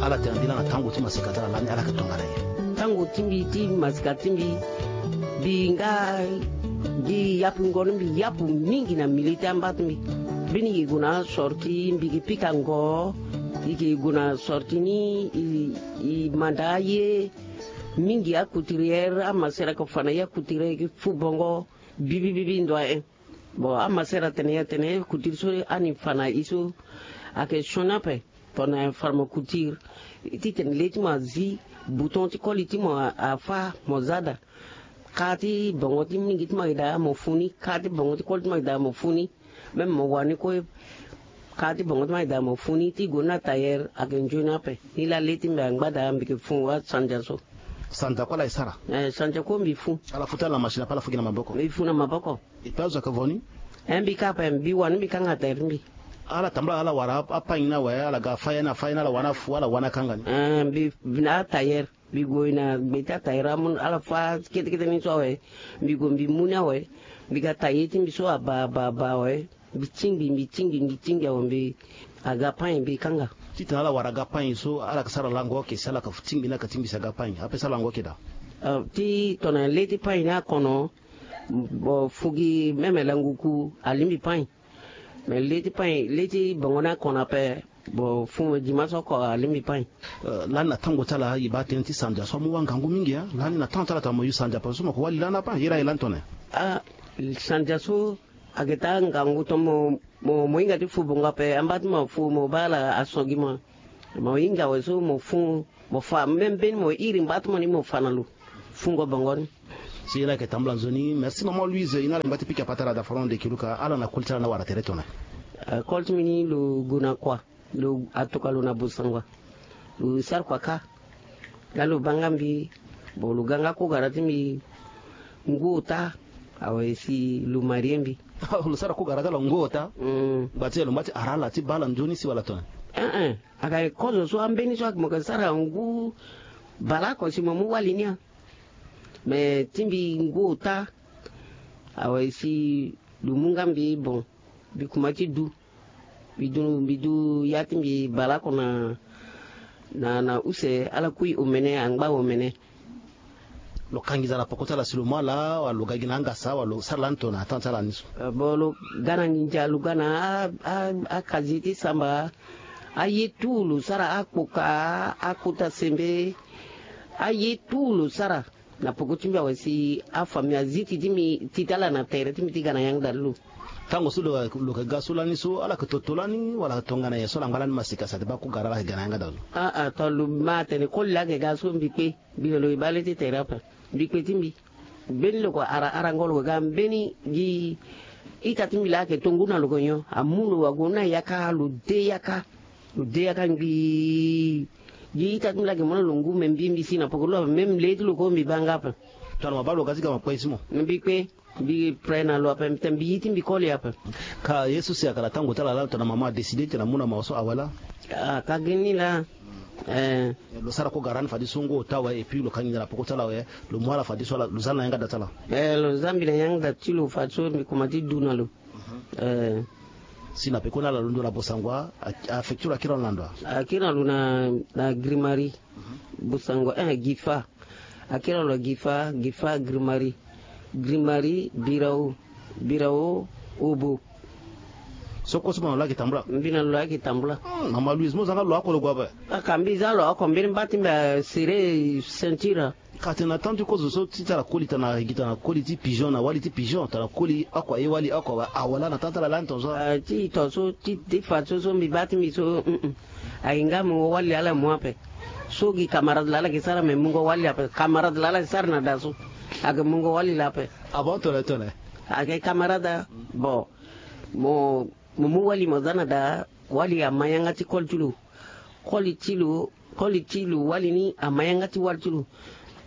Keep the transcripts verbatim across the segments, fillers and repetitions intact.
Ala tene mbi laa na tango ti masika ti ala lani ala yeke tongana nyen? Tango ti mbi ti masika ti mbi, mbi nga gi yapu ngongo ni mbi yapu mingi na milieu ti amba ti mbi. Mbeni e gue na asorti mbi yeke pika ngo, e yeke gue na sorti ni, e, e manda aye mingi, acouturière, amasera yeke fa na ye acouturière, e yeke fu bongo bibi bibi ndo ayen. Bon, amasera atene ye atene couture so ani fa na e so ayeke sioni ape. Tongana pharmacouture, titene le ti mo azi, bouton ti koli ti mo a, afâ, mo za daa. Kâ ti bongo ti mingi ti mo ayeke daa mo fu ni, kâ ti bongo ti koli ti mo ayeke daa mo fu ni. Même mo wani kue, kâ ti bongo ti mo ayeke daa mo fu ni, ti gue ni na tailleur ayeke nzoni ape. Ni laa le ti mbi angba daa mbi yeke fu asandia so. Sandia kue ala e sara? Eh, sandia kue mbi fu. Ala fu ti ala na machine ape ala fu gi na maboko? Mbi fu na maboko. E pe azo ayeke vo ni? Eh, mbi kâ ape, mbi wani mbi kanga tailleur ti mbi. Ala tambula ala wara a, apagne ni awe, ala ga fâ ya ni, afâ ya ni, ala wani afu, ala wani akanga ni? Eh, mbi, mbi na atailleur, mbi gue na gbe ti atailleur amu, ala fâ kete kete ni so awe. Mbi gue mbi mu ni awe. Mbi ga tailleur ti mbi so abaa, abaa, abaa awe. Mbi tingbi, mbi tingbi, mbi tingbi awe, mbi aga pagne mbi kanga. Titene ala wara aga pagne so, ala yeke sara lango oke si ala yeke tingbi ni, ala yeke tingbi si aga pagne ape, sara lango oke daa. Ah, ti tongana le ti pagne ni akono, bon, fu gi même languku alingbi pagne. Mais le ti pagne, le ti bongo ni akono ape, bon, fu gi maso oko alingbi pagne. Euh, lani na tango ti ala e baa tënë ti sandia so amu wangangu mingi, hein. Lani na temps ti ala tongana mo yu sandia ape so mo yeke wali lani ape, ye laa e lani tongana nyen? Ah, sandia so ayeke taa ngangu tongana mo, mo, mo hinga ti fu bongo ape, amba ti mo afu, mo baa ala aso gi mo. Mo hinga awe so mo fu, mo fa même mbeni mo iri ngba ti mo ni mo fa na lo. Fungo bongo ni. Si e laa ayeke tambula nzoni. Merci maman Louise, e na ala ngba ti pika patara da foron de kiluka, ala na koli ti ala ni awara tere tongana nyen? Ah, koli ti mbi ni lo gue na kua. Lo atoka lo na Bosangwa. Lo sara kua kâ. Nga lo baa nga mbi. Bon, lo ga nga kogara ti mbi ngu ota. Awe si lo marie mbi. Lo sara kogara ti ala ngu ota? Mm. Ngba ti e lo ngba ti ara ala ti baa ala nzoni si wala tongana nyen? Eh, eh. Ayeke kozo so ambeni so ayeke mo yeke sara ngu baleoko si mo mu wali ni ya. Mais ti mbi ngu ota. Awe si lo mu nga mbi, bon, mbi kuma ti du. Mbi du, mbi du ya ti mbi baleoko na, na, na use, ala kui omene, angba omene. Lo ka nginza na poko ti ala si lo mu ala, wala lo ga gi na angasa, wala lo sara lani tongana temps ti ala ni so? Eh, bon, lo ga na nginza, lo ga na a, a, akazi ti samba, aye tout lo sara, akpoka, akota sembe, aye tout lo sara. Na poko ti mbi awe si afamille azi ti ti mbi ti ti ala na tere ti mbi ti ga na yanga daa ti lo. Tango so lo, lo yeke ga so lani so, ala yeke toto lani, wala tongana nyen so ala ngba lani masika si ate baa kogara ala yeke ga na yanga daa ti lo? Ah, ah, tongana lo ma atene koli laa ayeke ga so mbi kpe, mbi na lo e baa le ti tere ape. Mbi kpe ti mbi. Mbeni lo yeke ara, arango lo yeke ga, mbeni gi ita ti mbi laa ayeke to ngu na lo yeke nyon. Amu lo ague na yaka, lo de yaka. Lo de yaka ngbii. Gi ita ti mbi laa ayeke mu na lo ngu, me mbi, mbi si na poko ti lo ape, même le ti lo kue mbi baa nga ape. Tongana mo baa lo ga ti ga mo kpe ti mo? Mbi kpe, mbi pre na lo ape, mbi tene mbi ye ti mbi koli ape. Ka ye so si ayeke na tango ti ala laa tongana mama adécide tene amu na mo so awe laa? Ah, ka gi ni laa. Eh. Lo sara kogara ni fadeso ngu ota awe, et puis lo ka nginza na poko ti ala awe, lo mu ala fadeso ala, lo za ala na yanga daa ti ala? Eh, lo za mbi na yanga daa ti lo fadeso mbi kuma ti du na lo. Eh. Si na pekoni ala londo na Bosangwa, a, a affecté lo akiri na ndo? Akiri na lo na, na Grimari. Bosangwa, eh, Gifa. Akiri na lo na Gifa, Gifa, Grimari. Grimari, Birao, Birao, Obo. So kue so mo na lo ayeke tambula? Mbi na lo ayeke tambula. Hmm, mama Louise, mo za nga lo oko lo gue ape? Aka mbi za lo oko, mbeni mba ti mbi asere ceinture. Ka tene na temps ti kozo so ti tara koli tana gi tana koli ti pigeon na wali ti pigeon tana koli oko aye wali oko awe, awe laa na temps ti ala lani tongaso? Ah, ti tongaso ti, ti fa so, so mbi baa ti mbi so, mm, mm. Ayeke nga mungo wali laa ala mu ape. So gi camarade laa ala yeke sara me mungo wali ape. Camarade laa ala yeke sara na daa so. Ayeke mungo wali laa ape. Ah bon, tongana nyen, tongana nyen? Ayeke camarade, bon. Mo, mo mu wali mo za na daa, wali ama yanga ti koli ti lo. Koli ti lo, koli ti lo wali ni ama yanga ti wali ti lo.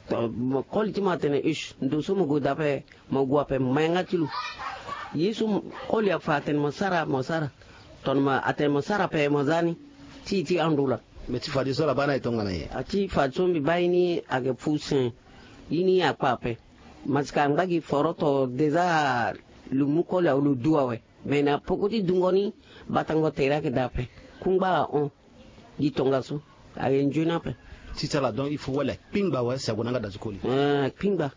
To, mo, koli ti mo atene, ish, ndo so mo gue daa ape, mo gue ape, ma yanga ti lo. Ye so mo, koli afa atene mo sara, mo sara. Tongana mo atene mo sara ape, mo za ni. Ti, ti ando laa. Me ti fadeso ala baa ni aye tongana nyen? Ah, ti fadeso mbi baa ye ni ayeke fu sen. Ye ni akpa ape. Masika angba gi foroto déjà lo mu koli awe lo du awe. Me na poko ti dungo ni, batango tere ayeke daa ape. Kungba ahon. Gi tongaso. Aye nzoni ape. Ti ti ala donc il faut wali akpingba awe si ague na yanga da ti koli. Eh, akpingba.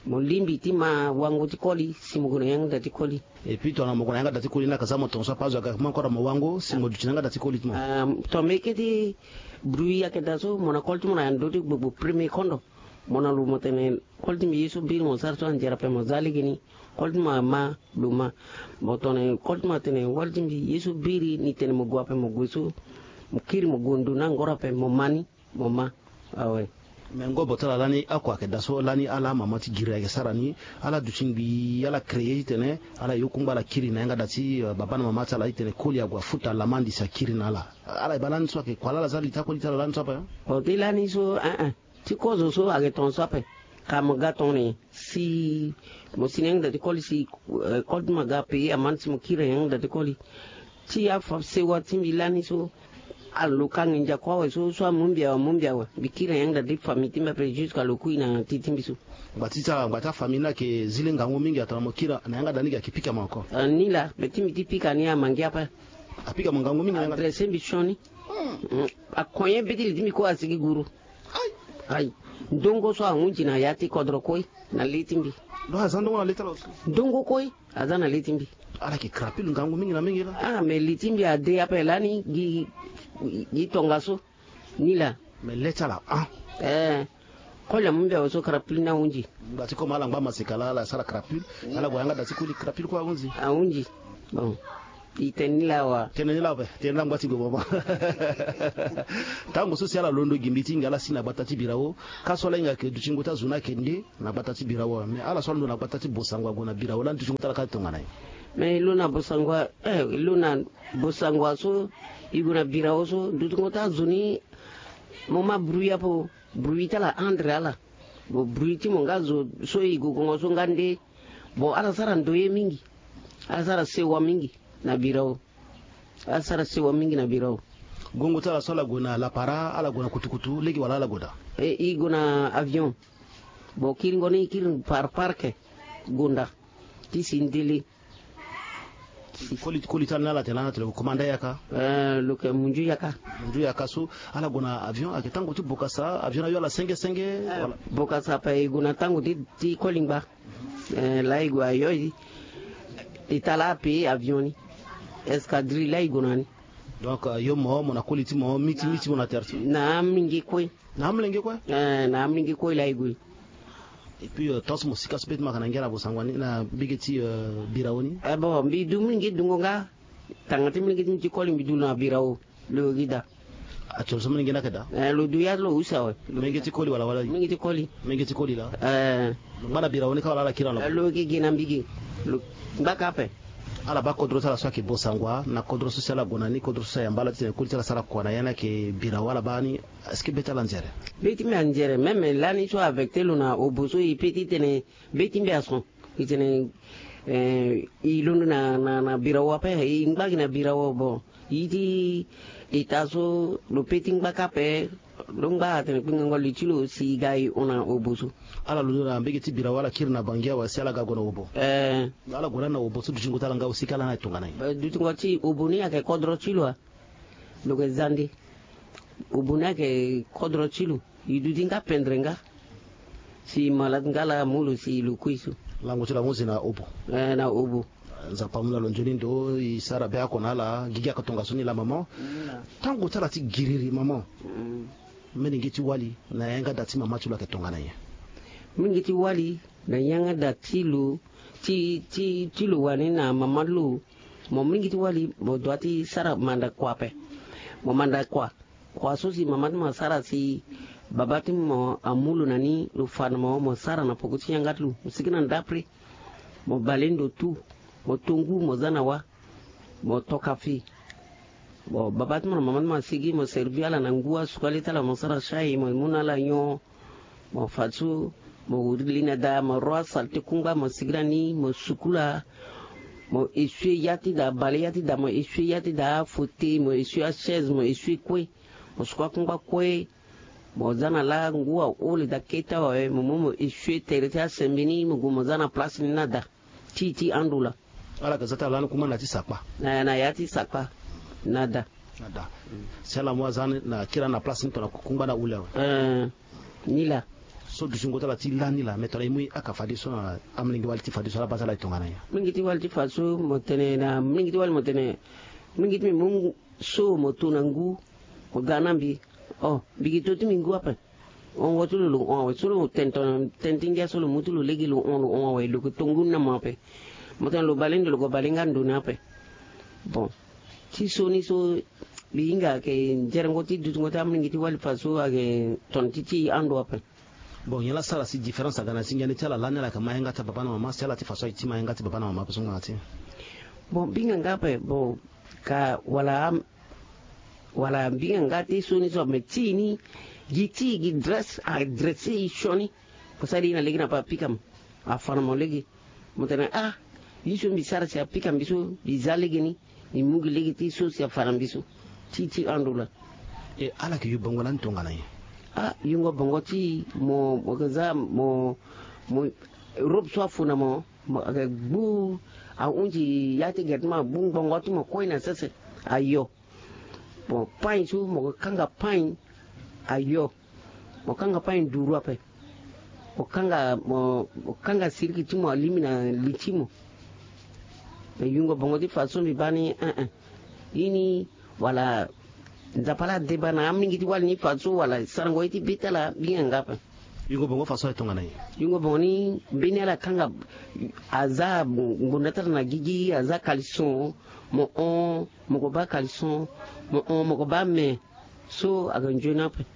Mo lingbi ti ma wango ti koli si mo gue na yanga da ti koli. Et puis tongana mo gue na yanga da ti koli ni aka za mo tongaso ape azo aga kama kora mo wango si mo duti na yanga da ti koli ti mo. Ah, tongana mo yeke ti brui ayeke daa so mo na koli ti mo na ya ndö ti gbogbo premier kondo. Mo na lo mo tene koli ti mbi ye so biri mo sara so anzere ape mo za legeni. Koli ti mo ama lo ma. Mo tongana koli ti mo atene wali ti mbi ye so biri ni tene mo gue ape mo gue so. Mo kiri mo gue ndo na angoro ape mo ma ni. Mo ma. Awe. Me ngobo ti ala lani oko ayeke daa so lani ala amama ti giri ayeke sara ni. Ala duti ngbii ala créer titene ala yo kungba ala kiri na yanga da ti, eh, baba na mama ti ala titene koli ague afuta lama andi si akiri na ala. Ala yeba lani so ayeke kua laa ala za li ti akoli ti ala lani so ape. Oti lani so, eh, eh. Ti kozo so ayeke tongaso ape. Ka mo ga tongana nyen si mo si na yanga da ti koli si, eh, koli ti mo aga ape aman si mo kiri na yanga da ti koli. Ti afa sewa ti mbi lani so. Alo ka nginza kue awe so so amu mbi awe amu mbi awe. Mbi kiri na yanga da ti famille ti mbi ape jusqu'à lo kui na ti ti mbi so. Ngba ti ti ala ngba ti afamille ni ayeke zi le ngangu mingi atona mo kiri na yanga da ni gi ayeke pika mo encore. Ah, ni laa me ti mbi ti pika ni amangi ape. Apika mo ngangu mingi na yanga da. Adresse mbi sioni. Mm, akonye be ti li ti mbi kue asigi guru. Ayi. Ndongo so ahunzi na ya ti kodro kue na le ti mbi. Donc aza ndongo na le ti ala aussi. Ndongo kue aza na le ti mbi. Ala yeke krapule ngangu mingi na mingi laa. Ah, me li ti mbi ade ape lani gi, gi tongaso. Ni laa. Me le ti ala ah. Eh. Koli amu mbi awe so krapule ni ahunzi. Ngba ti comme ala ngba maseka laa ala sara krapule. Ala gue na yanga da ti koli krapule kue ahunzi. Ahunzi. Bon. E tene ni laa wa. Tene ni laa ape. Tene ni laa ngba ti gue mama. Tango so si ala londo gi mbi ti hinga ala si na gbata ti birao. Ka so ala hinga ayeke dutingo ti azo ni ayeke nde na gbata ti birao awe. Me ala so alondo na gbata ti bosango ague na birao lani dutingo ti ala ka tongana nyen? Me e lo na bosango, eh, e lo na bosango so e gue na birao so dutingo ti azo ni. Mo ma bruit ape o. Bruit ti ala andre ala. Bon, bruit ti mo nga zo so e gogongo so nga nde. Bon, ala sara ndoye mingi. Ala sara sewa mingi na birao. Ala sara sewa mingi na birao. Gongo ti ala so ala gue na lapara ala gue na kutukutu lege wala ala gue daa? E, e gue na avion. Bon, kiringo ni e kiri par parc. Gonda ti si ndele. Koli, koli ti ala ni ala tene lani atene lo commanda yaka. Eh, lo yeke munzu yaka. Munzu yaka so ala gue na avion ayeke tango ti bokasa avion ni ayo ala senge senge. Eh, wala bokasa ape e gue na tango ti, ti koli ngba. Eh, laa e gue ayo e, e ta laa ape avion ni. Escadrille laa e gue na ni. Donc, eh, yo mo, mo na koli ti mo, miti, miti mo na tere so. Na amolenge kue. Na amolenge kue? Eh, na amolenge kue laa e gue. Et puis, euh, tongaso mo sika so peut-être mo yeke na ngia na bosango ni na mbege ti, euh, birao ni. Eh, bon, mbi du molenge dungo nga. Tanga ti molenge ti mbi ti koli mbi du lo na birao. Lo gi daa. Actuel so molenge ni ayeke daa? Eh, lo du ya lo use awe. Molenge ti koli wala wala? Molenge ti koli. Molenge ti koli laa? Eh. Lo ngba na birao ni ka wala ala kiri na lo? Eh, lo gi gi na mbi gi. Lo ngba ka ape. Ala baa kodro ti ala so ayeke bosango na kodro so si ala gue na ni kodro so si ayamba ala titene koli ti ala sara kua na ya ni ayeke birao ala baa ni. Est-ce que be ti ala anzere? Be ti mbi anzere même lani so affecté lo na obo so e pe titene be ti mbi ason. E tene, eh, e londo na, na, na birao ape e ngba gi na birao bon. E ti eta so lo pe ti ngba ka ape. Lo ngba atene kpingango li ti lo si e ga e hon na obo so. Ala londo na mbege ti birao ala kiri na bangi awe si ala ga gue na obo. Eh. Ala gue lani na obo so dutingo ti ala nga aussi ka lani aye tongana nyen? Dutingo ti obo ni ayeke kodro ti lo a. Lo yeke zande. Obo ni ayeke kodro ti lo. E duti nga pendre nga. Si malade nga laa amu lo si lo kui so. Lango ti lo ahunzi na obo. Eh, na obo. Nzapa amu na lo nzoni ndo e sara be oko na ala gigi aka tongaso ni laa maman. Tango ti ala ti giriri maman. Molenge ti wali na yanga da ti mama ti lo ayeke tongana nyen? Molenge ti wali na yanga da ti lo ti, ti, ti lo wani na mama ti lo. Mo molenge ti wali mo dua ti sara manda kua ape. Mo manda kua. Kua so si mama ti mo asara si baba ti mo amu lo na ni lo fa na mo, mo sara na poko ti yanga ti lo mo sigi na ndapre. Mo bale ndo tu. Mo to ngu mo za na wa. Mo toka fi. Bon, baba ti mo na mama ti mo asigi mo servi ala na ngu asuka le ti ala mo sara chai mo mu na ala nyon. Mo fa so mo wiri li na daa mo ro asalte kungba mo sigi na ni mo sukula. Mo essuie ya ti daa bale ya ti daa mo essuie ya ti daa afauteuil mo essuie achaise mo essuie kue. Mo suka kungba kue. Mo za na laa ngu ahole daa kete awe mo mu mo essuie tere ti asembe ni mo gue mo za na place ni na daa. Ti ti ando laa. Ala yeke za ti ala lani kuma na ya ti sakpa. Na ya ti sakpa. Na daa. Ada. Si ala mu aza ni na kiri na place ni tongana kungba na hule awe. Eh, ni laa. So dutingo ti ala ti lani laa, me tongana e mu e haka fadeso na amolenge wali ti fadeso, ala baa ti ala e tongana nyen? Molenge ti wali ti fadeso mo tene na molenge ti wali mo tene, molenge ti mbi mu so mo to na ngu, mo ga na mbi. Oh, mbi gi to ti mbi ngu ape. Hongo ti lo lo hon awe so lo tene tongana tene ti ngia so lo mu ti lo lege lo hon lo hon awe lo yeke to ngu ni na mo ape. Mo tene lo bale ndo lo gue bale nga ndo ni ape. Bon, ti so ni so mbi hinga ayeke nzerengo ti dutingo ti amolenge ti wali fadeso ayeke tongana ti ti e ando ape. Bon, nyen la sara si différence aga na ti ngia ni ti ala lani ala yeke ma yanga ti ababa na mama si ala ti fadeso aye ti ma yanga ti baba na mama ape so ngbanga ti e? Bon, mbi hinga nga ape bon, ka wala am- Wala mbi hinga nga ti so ni so me ti e ni, gi ti e gi dresse adresse e sioni. Mo sara e na lege ni ape apika mo, afa na mo lege. Mo tene ah, ye so mbi sara si apika mbi so mbi za lege ni. Mbi mu gi lege ti so si afa na mbi so. Ti ti ando laa. E ala yeke yu bongo lani tongana nyen? Ah, yungo bongo ti e mo mo yeke za mo mo robe so afu na mo, mo yeke gbu ahunzi ya ti gere ti mo agbu ngbongo ti mo kue na sese. Ayo. Bon, pain so mo kanga pain. Ayo. Mo kanga pain duru ape. Mo kanga mo mo kanga siriki ti mo alimi na li ti mo. Me yungo bongo ti fadeso mbi baa ni eh eh. Ye ni wala Nzapa ala deba na amingi ti wali ni fadeso wala sarango ye ti be ti ala mbi hinga nga ape. Yungo bongo fadeso aye tongana nyen? Yungo bongo ni mbeni ala kanga aza ngbonda ti ala na gigi aza kalison. Mo hon mo ko baa kalison. Mo hon mo ko baa me. So aga nzoni ape.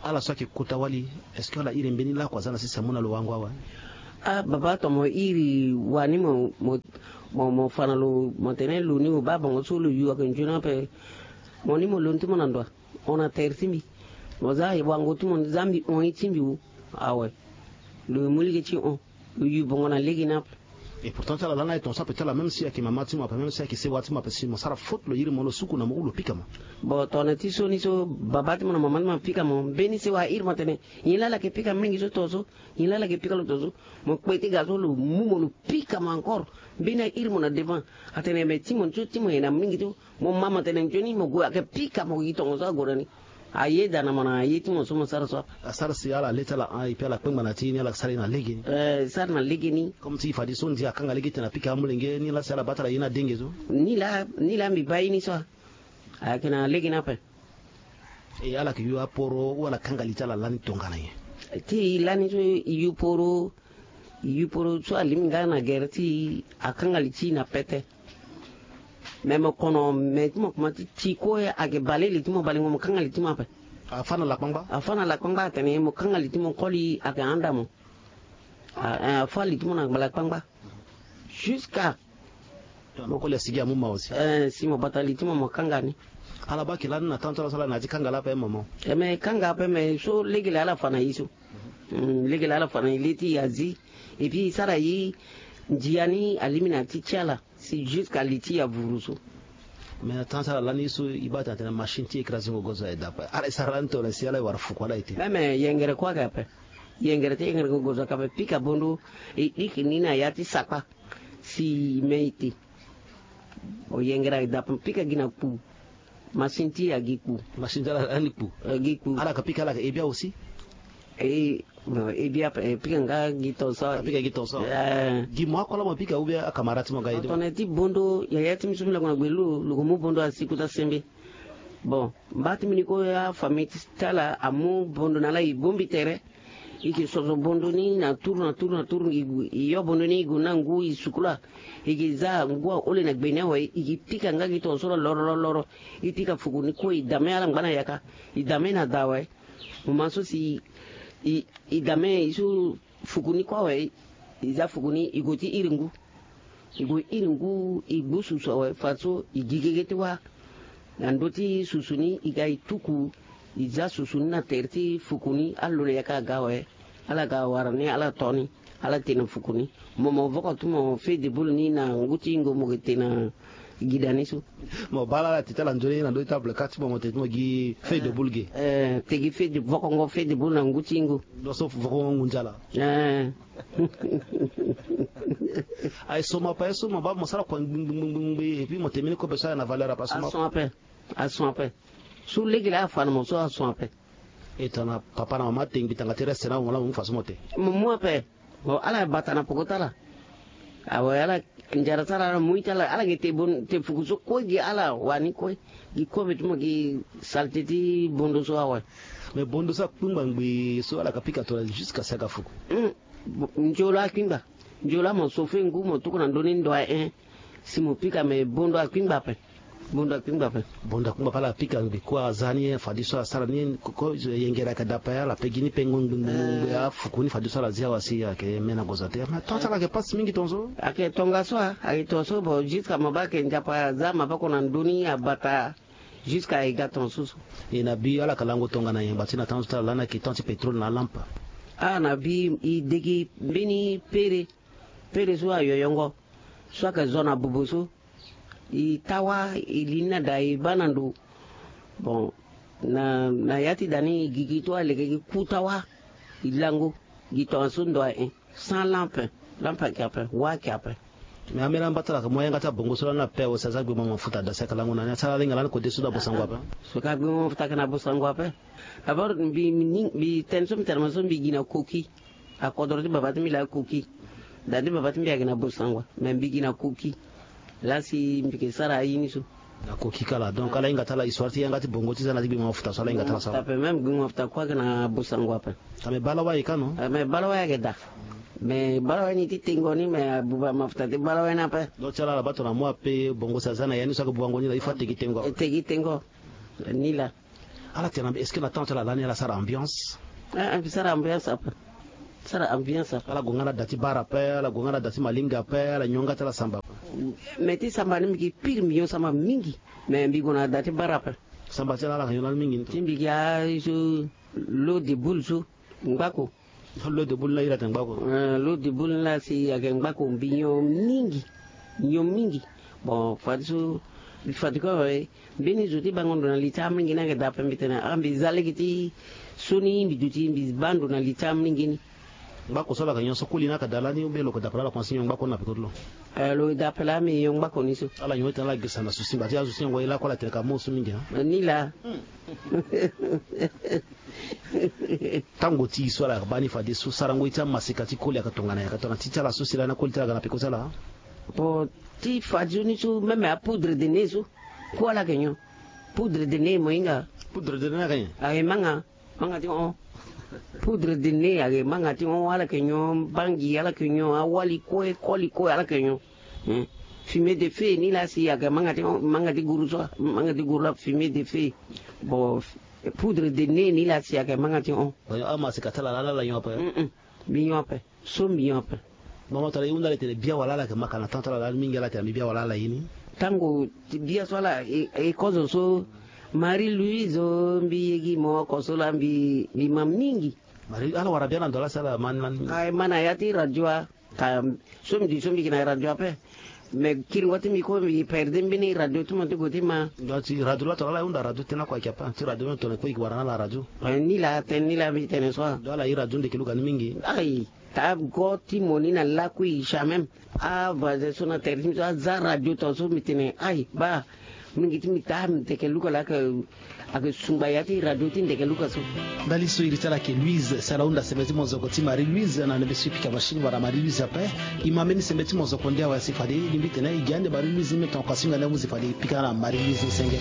Ala so ayeke kota wali, est-ce que ala iri mbeni laku aza na sese amu na lo wango awe? Ah baba tongana mo iri wani mo mo mo fa na lo mo tene lo ni mo baa bongo so lo yu ayeke nzoni ape. Mo ni mo lo ni ti mo na ndo a? Hon na tere ti mbi. Mo za wango ti mo ni za mbi hon ye ti mbi wu. Awe. Lo mu lege ti hon. Lo yu bongo na lege ni ape. Et pourtant ti ala lani aye tongaso ape ti ala même si ayeke mama ti mo ape même si ayeke sewa ti mo ape si mo sara faute lo iri mo lo suku na mo ou lo pika mo. Bon tongana ti so ni so baba ti mo na mama ti mo apika mo mbeni sewa airi mo atene nyen laa ala yeke pika mingi so tongaso. Nyen laa ala yeke pika lo tongaso. Mo kpe ti ga so lo mu mo lo pika mo encore. Mbeni airi mo na devant atene me ti mo ni so ti mo ye na mingi so. Mo ma mo tene nzoni mo gue ayeke pika mo gi tongaso ague na ni. Ayeda na mo na ye ti mo so mo sara so ape. Asara si ala le ti ala hon et puis ala kpengba na ti ye ni ala sara ye na lege ni. Eh sara na lege ni. Comme ti e fadeso ndia akanga lege ti tene apika amolenge ni laa si ala baa ti ala ye ni adenge so. Ni laa ni laa mbi baa ye ni so. Ayeke na lege ni ape. E ala yeke yu aporo ou ala kanga li ti ala lani tongana nyen? Ti e lani so e yu poro. Yu poro so alingbi nga na gere ti e akanga li ti e na pete. Me mo kono me ti mo kuma ti ti kue ayeke bale li ti mo balengo mo kanga li ti mo ape. Afa na lakpangba. Afa na lakpangba atene mo kanga li ti mo koli ayeke handa mo. Afa li ti mo na lakpangba. Jusqu'à mo koli asigi amu ma aussi. Eh si mo bata li ti mo mo kanga ni. Ala baa yeke lani na temps ti ala so ala na ya ti kanga laa ape mama. Eh me kanga ape me so legele ala fa na ye so. Legele ala fa na ye le ti e azi. Et puis e sara ye ndia ni alimi na ya ti ti ala. Si jusqu'à li ti e avuru so. Mais na temps ti ala lani ye so e baa tena tena machine ti écrasingo gozo aye daa ape ala e sara lani tongana si ala e wara fuku ala ete. Même yengere kue ayeke ape. Yengere ti yengerengo gozo ayeke ape pika bondo. E iki ni na ya ti sakpa. Si me ete. Oyengere aye daa ape pika gi na kpu. Machine ti e agi kpu. Machine ti ala lani kpu. Agi kpu ala yeke pika ala yeke e bia aussi. E bon e bia ape e pika nga gi tonso. Apika gi tonso. Gi mo akua laa mo pika ou bien acamarade ti mo ga ye ti mo. Tongana ti bondo yaya ti mbi so mbi lako na gbe lo lo ko mu bondo asi kota sembe. Bon mba ti mbi ni kue afamille ti ala amu bondo na ala e bongbi tere. E ke soso bondo ni na turu na turu na turu e yo bondo ni e gue na ngu e sukula. E ke za ngu ahole na gbe ni awe e ke pika nga gi tongaso laa loro loro loro. E pika fuku ni kue e dame ala ngba na yaka. E dame na da awe. Mo ma so si e dame e so fuku ni kue awe. E za fuku ni e gue ti iri ngu. E gue iri ngu e gbu susu awe fadeso e gi gege ti wâ. Na ndö ti susu ni e ga e tuku. E za susu ni na tere ti fuku ni alo na yaka aga awe. Ala ga wara ni ala to ni. Ala te na fuku ni. Mo mo voko ti mo feuille de boule ni na ngu ti ingo mo ke te na gida ni so. Mo baa la ala te ti ala nzoni na ndö ti table ka ti mo mo te ti mo gi feuille de boule ge. Eh te gi feuille de vokongo feuille de boule na ngu ti ingo. Lo so vokongo ngunza ala. Eh. Aye so mo ape so mo baa mo sara kua ngbi ngbi ngbi ngbi et puis mo te mbeni kobe so aye na valeur ape aso mo ape. asu ape. So lege laa afa na mo so asu ape. E tongana papa na mama te ngbi tanga ti reste na mo laa mo mu fa so mo te. Mo mu ape. Bon, ala bata na poko ti ala. Awe, ala nzara ti ala, ala moi ti ala, ala gi te bon, te fuku so kue gi ala wani kue. Gi kobe ti mo gi salte ti bondo so awe. Mais bondo so akpingba ngbi so ala ka pika tongana jusqu'à si aga fuku. Hmm. Bo-, nzolo akpingba. Nzolo amo so fe ngu mo tuku na ndoni ndo aye. Si mo pika me bondo akpingba ape. Bondo akpingba ape. Bondo akpingba ape ala pika ngbi kue aza ni fadeso asara ni ko, ko, yengere ayeke daa ape ala pe gi ni pe ngongbi ngbi afuku ni fadeso ala zia wa si ayeke me na gozo ate. Mais temps ti ala ayeke passe mingi tongaso. Ayeke tongaso a, ayeke tongaso bon, jusqu'à mo baa ayeke nzapa aza maboko na ndoni abata. Jusqu'à e ga tongaso so. E na bi ala yeke lango tongana yamba ti na temps ti ala lani ayeke temps ti pétrole na alampe. Ah, na bi e degi mbeni pere. Pere so ayoyongo. So ayeke zo na bobo so. E tawa e li ni na da e baa na ndo. Bon, na, na ya ti da ni e gigi to aleke gi ku tawa. E lango gi tongaso ndo aye. Sans lampe. Lampe ayeke ape, wa ayeke ape. Mais ambeni amba ti ala ayeke mu ayanga ti abongo so lani ape awe si aza gbe mo mafuta da si ayeke lango na ni asi ala linga lani kode so da bosango ape. So ka gbe mo mafuta ayeke na bosango ape. D'abord mbi, mbi, mbi tene so mbi tene mo so mbi gi na koki. Akodro ti baba ti mbi laa koki. Da ti baba ti mbi ayeke na bosango. Mais mbi gi na koki. Laa si mbi yeke sara aye ni so. Na koki kala. Donc ala hinga ti ala histoire ti yanga ti bongo ti za na ti gbi mo mafuta so ala hinga ti ala sara. Ape même gbi mo mafuta kue ayeke na bosango ape. Ame bala wai ka no? Ame bala wai ayeke daa. Me bala wai ni ti tengo ni me abuba mafuta ti bala wai ni ape. Donc ti ala ala baa tongana mo ape bongo si aza na ya ni so ayeke bubango ni laa il faut ategi tengo. Ategi tengo. Ni laa. Ala tene est-ce que na temps ti ala lani ala sara ambiance? Ah, mbi sara ambiance ape. Sara ambiance ape. Ala gue nga na da ti bara ape, ala gue nga na da ti malinga ape, ala nyon nga ti ala samba ape. Me ti samba ni mbi gi pire mbi nyon samba mingi. Me mbi gue na da ti bara ape. Samba ti ala ala yeke nyon lani mingi ni. Ti mbi gi aye so l'eau de boule so. Ngbako. L'eau de boule ni la iri atene ngbako. Eh, l'eau de boule ni la si ayeke ngbako mbi nyon mingi. Nyon mingi. Bon, fadeso, fadeso awe, mbeni zo ti bango ndo na li ti amolenge ni ayeke daa ape mbi tene, ah, mbi za lege ti so ni mbi duti mbi baa ndo na li ti amolenge ni. Ngbako so ala yeke nyon so koli ni ayeke daa lani ou bien lo yeke daa ape laa ala komanse nyon ngbako ni na peko ti lo? Eh, lo daa ape laa mbi nyon ngbako ni so. Ala nyon ti tene ala girisa na susi mba ti azo ti nyon ngoi lakue ala tene ka mo so mingi, hein? Eh, ni laa. Tango ti e so ala baa ni fadeso sarango ye ti amaseka ti koli ayeke tongana nyen? Ayeke tongana ti ti ala so si lani akoli ti ala aga na peko ti ala. Bon, ti fadeso ni so même apoudre de nez so kue ala yeke nyon. Poudre de nez mo hinga. Poudre de nez ayeke nyen? Ayeke manga. Manga ti hon. Poudre de nez ayeke manga ti hon, ala yeke nyon bangi, ala yeke nyon awali kue, koli kue ala yeke nyon. Hmm. Fumée de feu ni laa si ayeke manga ti hon, manga ti guru so, manga ti guru la fumée de feu. Bon, poudre de nez ni laa si ayeke manga ti hon. Bon, amaseka ti ala laa ala nyon ape? Mm-mm. Mbi nyon ape. So mbi nyon ape. Mama tongana e hunda ala e tene bia wala ala ayeke ma ka na temps ti ala lani mingi ala tene mbi bia wala ala ye ni. Tango ti bia so ala e, e kozo so Marie Louise o, mbi ye gi mo oko so laa mbi, mbi ma mingi. Marie, ala wara bia na ndo laa si ala ma ni lani mingi. Ayeke ma na ya ti radio a. Ka so mbi di so mbi yeke na radio ape. Me kiringo ti mbi kue mbi perde mbeni radio ti mo ti gue ti ma. Donc ti radio laa tongana ala hunda radio ti tene oko ayeke ape ti radio ni tongana e kue e yeke wara na ala radio. Eh, ni laa tënë ni laa mbi tene so. Donc ala ye radio ndeke luka ni mingi. Ai, taa go ti mo ni na lakui jamais. Avoisin so na tere ti mbi so aza radio tongaso mbi tene ai baa. Mingi ti mbi taa mbi teke luka laa ayeke. Ayeke sungba ya ti radio ti ndeke luka so. Ndali so iri ti ala ayeke Louise si ala hunda sembe ti mozoko ti Marie Louise na ndembe so e pika machine wala Marie Louise ape. E ma mbeni sembe ti mozoko nde awe asi fade e lingbi tene e gi ande Marie Louise ni me tongana kua so hinga nde amu si fade e pika na Marie Louise ni senge.